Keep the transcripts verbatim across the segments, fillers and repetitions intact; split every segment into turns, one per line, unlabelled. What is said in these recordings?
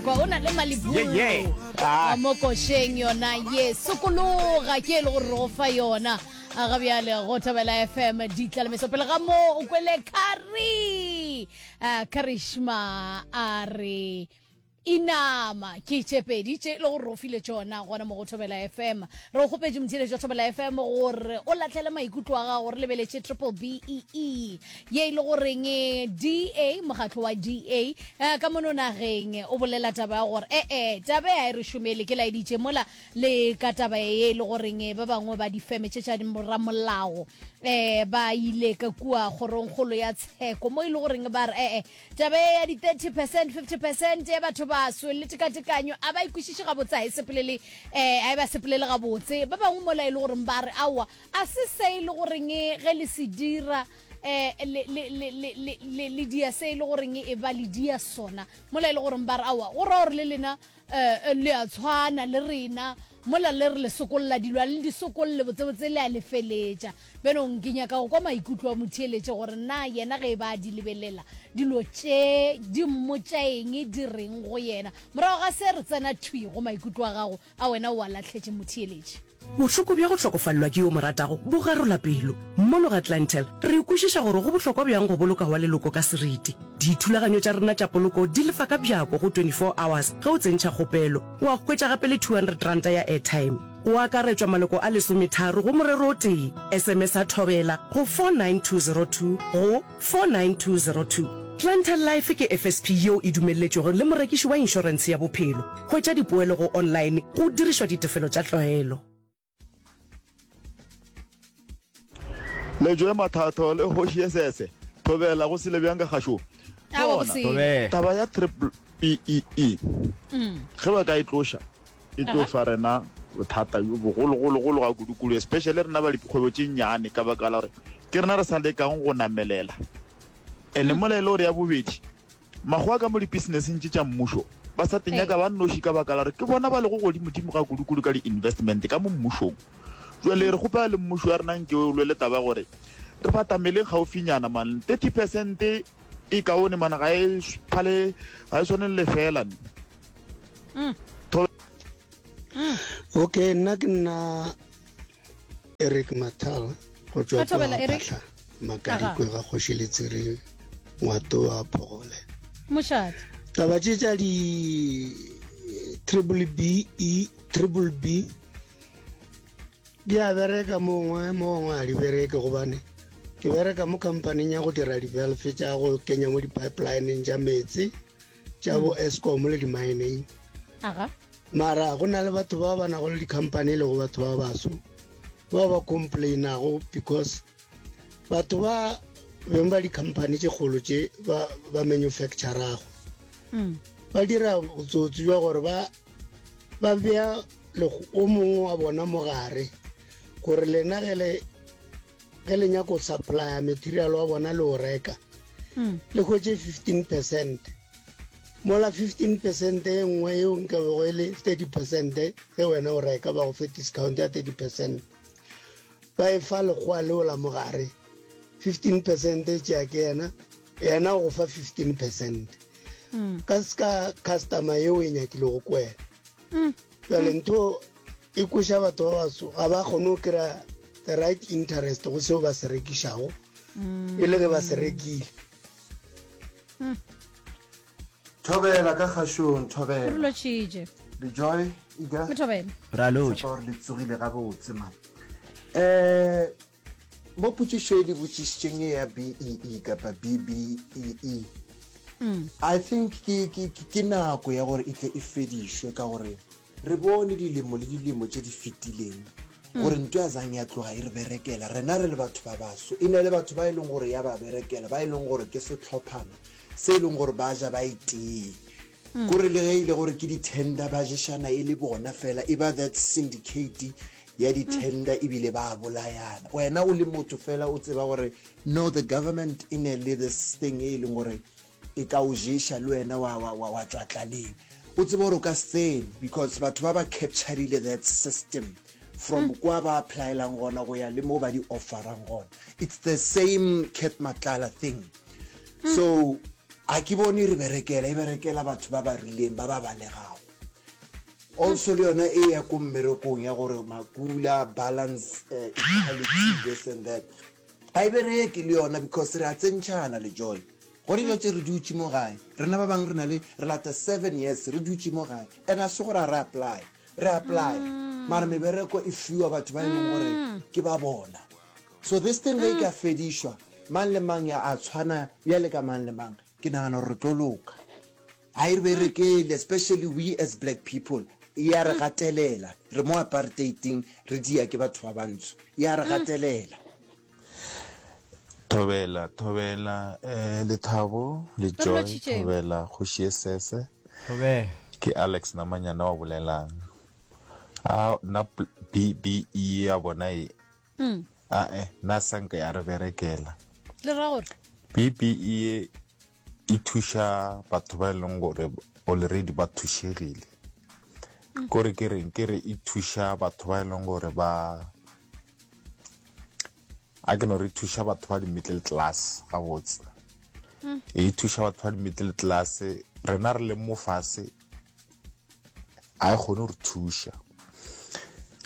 Kwa o na le malibulu
Yeah, yeah. Ah.
wa mo košeng yona ye sokologa ke e le gore re go fa yona A ga bjale go Thobela F M ditlalemeso. Pele ga mo o kwele Kari uh, Karishma a re inama ke tše pedi tše e le gore re o file tšona gona mo go Thobela F M. Re o kgopetše, motheeletši wa Thobela F M, gore o latlhele maikutlo a gago. Re lebeletše triple B E E ye e le goreng D A, mokgatlo wa D A eh, ka mono nageng o bolela taba ya gore ee, taba e a e re šomele. Ke laeditše mola le ka taba ye e le goreng ba bangwe ba difeme tše tša ramolao um ba ile ka kua kgorongkgolo ya tsheko mo e le goreng ba re ee, taba e ya di-thirty percent, fifty percent ya batho baso le tekatekanyo a ba ikwešiše gabotse, a e sepelele um a e ba sepelele gabotse. Ba bangwe mola e le goreng ba re aowa, a se se e le goreng ge le se dira eh le le le le le le le dia se e le goreng e ba le dia sona, mola e le goreng ba re aowa, go raya gore le lena eh le a tshwana le rena mola le re le sokolla dilo, a le di sokolle botsebotse, le a le feletša. Benong ke nyaka go kwa maikutlo a motheeletše gore na yena ge e ba a di lebelela dilo tše di mmotša eng, di reng go yena. Morago ga se re tsena thwi go maikutlo a gago a wena o a lahletše, motheeletše.
Bohloko bja go hlokofalelwa ke yo mo ratago bo garola pelo. Mono ga Clientele re kwešiša gore go bohlokwa bjang go boloka wa leloko ka seriti. Dithulaganyo tša rena tša poloko di lefa ka bjako go twenty-four hours ge o tsentšha kgopelo, wa hwetša gape le two hundred rand ya airtime. Go akaretšwa maloko a lesometharo go morero o tee. S M S a Thobela go four nine two zero two go four nine two zero two. Clientele Life ke F S P yeo e dumelletšwego le morekiši wa inšorentshe ya bophelo. Hwetša dipoelo go online go dirišwa ditefelo tša tlwaelo.
Lejoe Mathatho le kgoši esese, thobela, go sele bjang ka kgašong?
Awa,
Bona,
bosele.
Taba ya triple B E E, ge ba ka e tloša, e tlo fa rena bothata bjo bogologologolo ga kudu-kudu, especially rena ba dikgwebo tše nnyane, ka baka la gore ke rena re sa lekang go namelela. And mola e le gore ya bobedi, makgowa ka mo dipisinesseng tše tša mmušo ba sa tenyaka ba nnoši, ka baka la gore ke bona ba lego godimodimo ga kudu-kudu ka di-investment ka mo mmušong. Jale re kgopela le mmušo ya rena nke o lwele taba gore re batameleng gaufinyana man. thirty percent e kaone man, ga e phale, ga e tshwane le lefela ne.
Okay, nna ke nna Eric Mathal go tswa
Ka thobela,
kwa
Eric.
Phahla Makadikwe ga kgoši Letsiri Ngwato wa Phogole.
Mošate.
Taba tše tša di triple B E, triple B di a bereka mongwe mongwe, a di bereke, gobane ke bereka mo companyng ya go dira di-valve tša go kenya mo di-pipelineng tša meetse tša bo Eskom le di-mineng.
Aga.
Mara go na le batho ba ba nago le di-company, e lego batho ba baso bao ba complainago because batho ba beng ba di-company tše kgolo tše ba, ba manufacturago
Mm.
ba dira botsotsi jwa gore ba ba bea lego- o mongwe wa bona mogare gore lena ge le ge le nyako supplya material wa bona le o reka,
Mm.
le hwetše fifteen percent, mola fifteen percent e nngwe eo nka bego e le thirty percent ge wena o reka, ba go fe discount ya thirty percent, ba e fa lekgowa leo la mogare. fifteen percent e tšea ke yena, yena o go fa fifteen percent
Mm.
ka ska customer yeo e nyakilego ko wena.
Mm.
Jale ntho e kweša batho ba baso ga ba kgone go kry-a the right interest go seo ba se rekišago e le ge ba se rekile.
Thobela ka kgašong,
Re
thobela.
Lotšhitše.
Rejoy Ika.
Mo thobela.
Ra lotšha.
Tshepa gore le tsogile gabotse man. um mo potšišo e le botšišitšeng e ya B E E kapa B B E E,
Mm.
I think ke, ke, ke, ke nako ya gore e tle e fedišwe, ka gore re bone dilemo le dilemo tše di fetileng gore ntho ya zang ya tloga e re berekela rena re le batho ba baso. E na le batho ba e leng gore ya ba berekela, ba e leng gore ke sehlophana se e leng gore ba ja ba e tee, kore le ge e le gore ke di-tender ba ješana e le bona fela, e ba that syndicate ya di-tender, ebile ba bolayana. Wena o le motho fela o tseba gore no, the government e ne le this thing e leng gore e ka o ješa le wena wa, wa, wa, wa tšwa tlaleng, o tsebe gore o ka se tsene because batho ba ba capturile that system from kwa ba applylang gona go ya le mo ba di offerang gona. It's the same Cat Matlala thing. So A ke bone e re berekela, e berekela batho ba ba rileng ba ba balegago. Also le yona e ya ko mmerekong ya gore makula, balance, eh, equality, this and that. Ga e bereke le yona because re a tsentšhana le Joy. Gone bjatše re dutše mo gae, rena ba bangwe re na le, re lata seven years re dutše mo gae and a se gore a re apply, re apply mara mebereko e fiwa batho ba e leng gore ke ba bona. So this thing ge e ka fedišwa, mang le mang ya a tshwana bjale ka mang le mang, ke nagana gore re tlo loka. Ga e re berekele, especially we as black people, e ya re gatelela. Re mo apartheid-ing, re dia ke batho ba bantsho, e ya re gatelela.
Thobela, thobela, eh, Lethabo le
Re
Joy,
lotšhitše.
thobela kgoši e sese.
Thobela.
Ke Alex Namanyana wa bolelang. A nna pl-, B B E ya bona e.
Mm.
A eh, nna sanka ya re berekela.
Le ra gore?
B B E e thuša batho ba e leng gore already ba thušegile.
Mm.
Kore ke reng, ke re e thuša batho ba e leng gore ba, a ke no re thuša batho ba di-middle class gabotse.
Mm.
E thuša batho ba di-middle class, rena re leng mo fase, a e kgone go re thuša.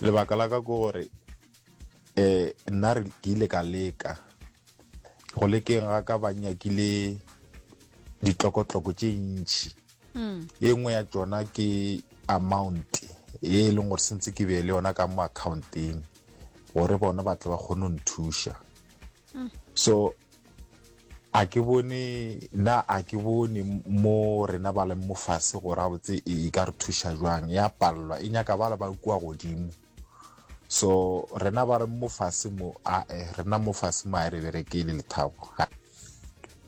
Lebaka la ka ke gore, eh, nna re ke ile ka leka. Go lekeng ga ka ba nyakile ditlokotloko tše ntši.
Mm.
E nngwe ya tšona ke amount e leng gore sentse ke be le yona ka mo accounteng gore bona ba tle ba kgone go nthuša.
Mm.
So a ke bone, nna a ke bone mo rena ba leng mo fase gore gabotse e, e ka re thuša jwang. Ya pallwa, e nyaka ba le ba kua godimo. So rena ba re mo fase mo, a, eh, rena mo fase mo a re berekele Lethabo.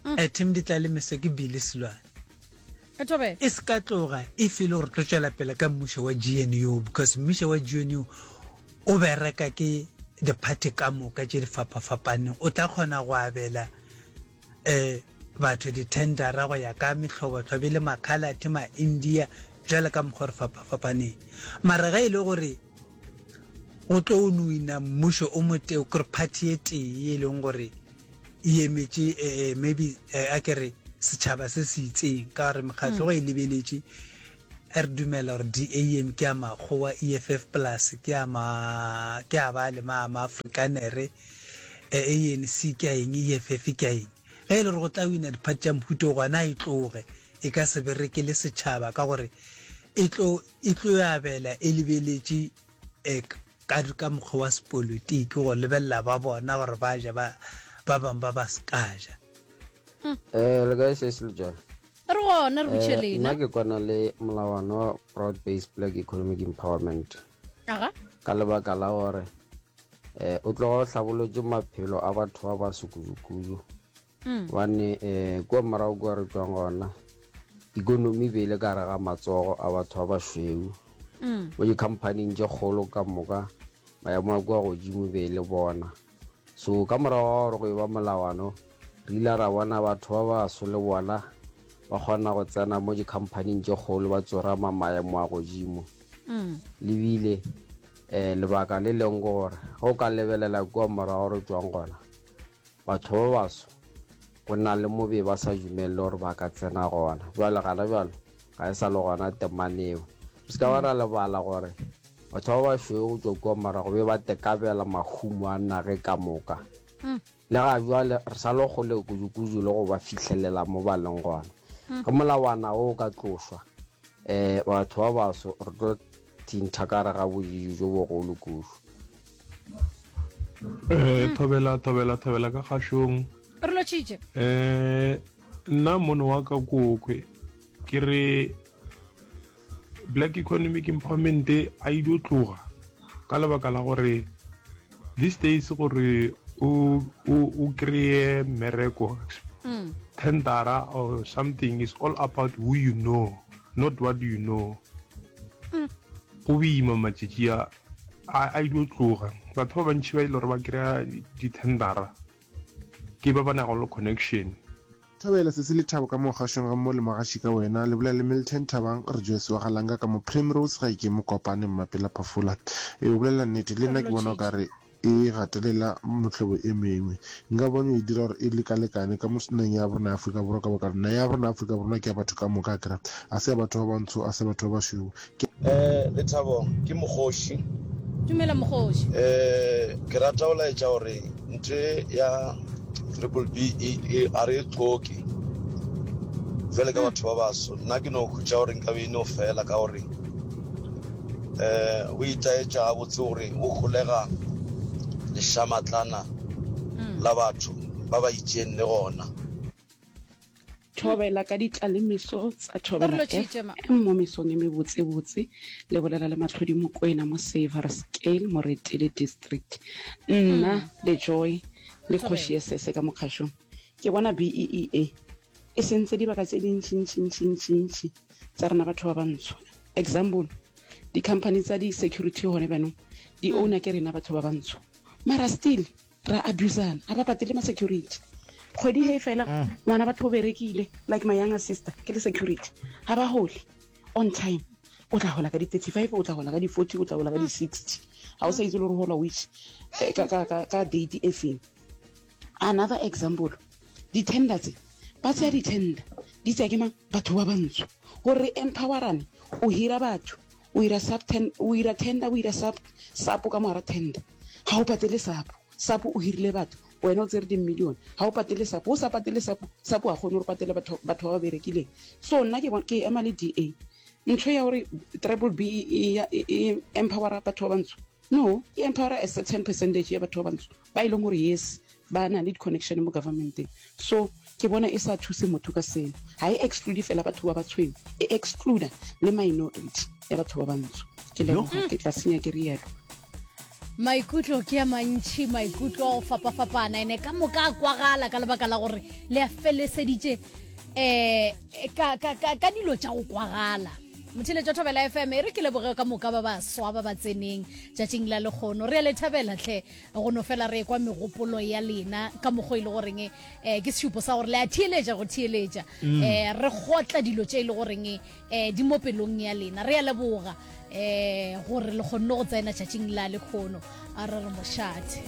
Mm.
Eh, Tim di tla le meso ke Billy Silwane.
E Thobela.
E se ka tloga e fele gore tlo tšwela pele ka mmušo wa G N U, because mmušo wa G N U o bereka ke di-party ka moka tše di fapafapaneng. O tla kgona go abela, eh, batho di-tendera go ya ka mehlobohlobo, e le ma-Coloured, ma-India, jwalo ka mokgwa re fapafapaneng. Mara ge e le gore go tlo wina mmušo o motee, kore party e tee e leng gore e emetše, eh, eh, maybe, eh, a ke re setšhaba se se itseng, ka gore mekgatlo
Mm.
go e lebeletše, re dumela gore D A M ke ya makgowa, E F F plus ke ya ma, ke ya ba le ma, ma Afrikanere, eh, A N C ke ya eng, E F F ke ya eng. Ge e le gore go tla wina diphathi tša mohuta o gona e tloge, e ka se bereke le setšhaba ka gore e tlo, e tlo abela e lebeletše, eh, ka, ka mokgwa wa sepolitiki go lebelela ba bona gore ba ja, ba, ba bangwe ba ba se ka ja.
Mm.
Eh, le kae se se le jwang?
Re gona, re botše
Eh,
lena.
nna ke kwana le molawana wa Broad Based Black Economic Empowerment.
Aga.
Ka lebaka la gore, eh, o tloga o hlabolotše maphelo a batho ba baso kudu-kudu.
Mm.
Gobane, eh, kua morago kua re tšwang gona, ikonomi e be e le ka gare ga matsogo a batho ba bašweu.
Mm.
Mo di-company-ing tše kgolo ka moka, maemo a kua godimo be e le bona. So ka morago ga gore go e ba molawano, re ile ra bona batho ba baso le bona ba kgona go tsena mo di-company-ing tše kgolo, ba tsorama maemo a godimo.
Mm.
Lebile, eh, lebaka le leng ke gore ge o ka lebelela kua morago re tšwang gona, batho ba baso go na le mo be ba sa dumelle gore ba ka tsena gona. Jwale gana jwale ga e sa le gona temaneo. Re se ka ba ra lebala gore batho ba bašweu go tšwa kua morago be ba tekabela mahumo a nage ka moka.
Mm.
Le ga jwale re sa le kgole kudu-kudu le go ba fihlelela mo ba leng gona.
Mm.
Ge molawana o ka tlošwa, eh, batho ba baso re tlo thintha ka gare ga bodiidi jo bogolo kudu.
Eh, thobela, thobela, thobela ka kgašong.
Re lotšhitše.
Eh, nna mono wa ka kokwe ke re Black Economic Empowerment a e dio tloga ka lebaka la gore these days gore o, o, o kry-e mmereko,
Mm.
tendera or something is all about who you know, not what you know.
Mm.
Go boima matšatši a, a, a dio tloga. Batho ba bantši ba ile gore ba kry-a di-tendera ke ba ba nago le connection.
Thobela se se lethabo ka mo kgašong ga mmo le mogaši ka wena, le bolela le Milton Thabang, re Joyce wa Galanga ka mo Primrose ga ike Mokopane Mmapela Phafola. E o bolela nnete, le nna ke bona o ka re e gatelela mehlobo e mengwe. Nka ba no e dira gore e lekalekane ka mo nageng ya rona ya Afrika Borwa ka baka naga ya rona ya Afrika Borwa ke ya batho ka moka akere a se ya batho ba bantsho a se ya batho ba bašweu ke
Eh, Lethabo, ke Mokgoši.
Dumela Mokgoši.
Eh, ke rata go laetša gore ntho e ya triple B E E a re e hloke jwale ka batho ba baso. Nna ke no hutša gore nkabe e no fela ka gore eh go itaetša gabotse gore go holega lešamatlana la batho ba ba itšeng le gona.
Thobela ka ditlalemeso tsa Thobela
Re lotšhitše, ma.
F M mo mesong e mebotsebotse. Le bolela le Mahlodi Mokwena mo Saverscale, Moretele District. Nna le Joy le Kgoši ye Sese ka mokgašong. Ke bona B E E E e sentse dibaka tse dintši-ntši-ntši-ntši tsa rena batho ba bantsho. Example, di-company tsa di-security gone bjanong di owner ke rena batho ba bantsho. Mara still ra abusana, ga ba patele ma-security. Kgwedi he fela ngwana batho o berekile like my younger sister ke le security, ga ba hole on time. O tla hola ka di-thirty-five, o tla hola ka di-forty, o tla hola ka di-sixty. Ga o sa itse le gore hola which eh, ka, ka, ka, ka date e feng. Another example, di-tender tse ba tseya di-tender di tseya ke mang? Batho ba bantsho. Gore re empowerane, o hira batho, o ira sub ten, o ira tender, o ira sub, sub ka mogara tender. Ga o patele sub, sub o hirile batho, wena o tsere di-million, ga o patele sub, o sa patele sub, sub wa kgone gore patele batho, batho ba ba berekileng. So nna ke bon-, ke ema le D A. Ntho ya gore triple B e, e, e empowera batho ba bantsho, no, e empowera a certain percentage ya batho ba bantsho ba e leng gore yes ba na le di-connection mo governmenteng. So ke bona e sa thuse motho ka seno. Ga e exclude fela batho ba batshweu, e excluda le minority ya batho ba bantsho. Ke leboga, ke tla senya ke rialo.
Maikutlo ke a mantši, maikutlo a go fapafapana, ene ka moka a kwagala ka lebaka la gore le a feleseditše eh, ka, ka, ka, ka dilo tša go kwagala. Motheeletši wa Thobela F M, e re ke leboge ka moka ba baswa ba ba tseneng tšatšing la lekgono. Re a le thabela tlhe go no fela re ekwa megopolo ya lena ka mokgwa e le goreng, eh, ke sešupo sa gore le a theeletša go theeletša.
Mm.
Eh, re kgotla dilo tše e le goreng, eh, di mo pelong ya lena. Re a leboga, eh, gore le kgonne go tsena tšatšing la lekgono. A re re mošate.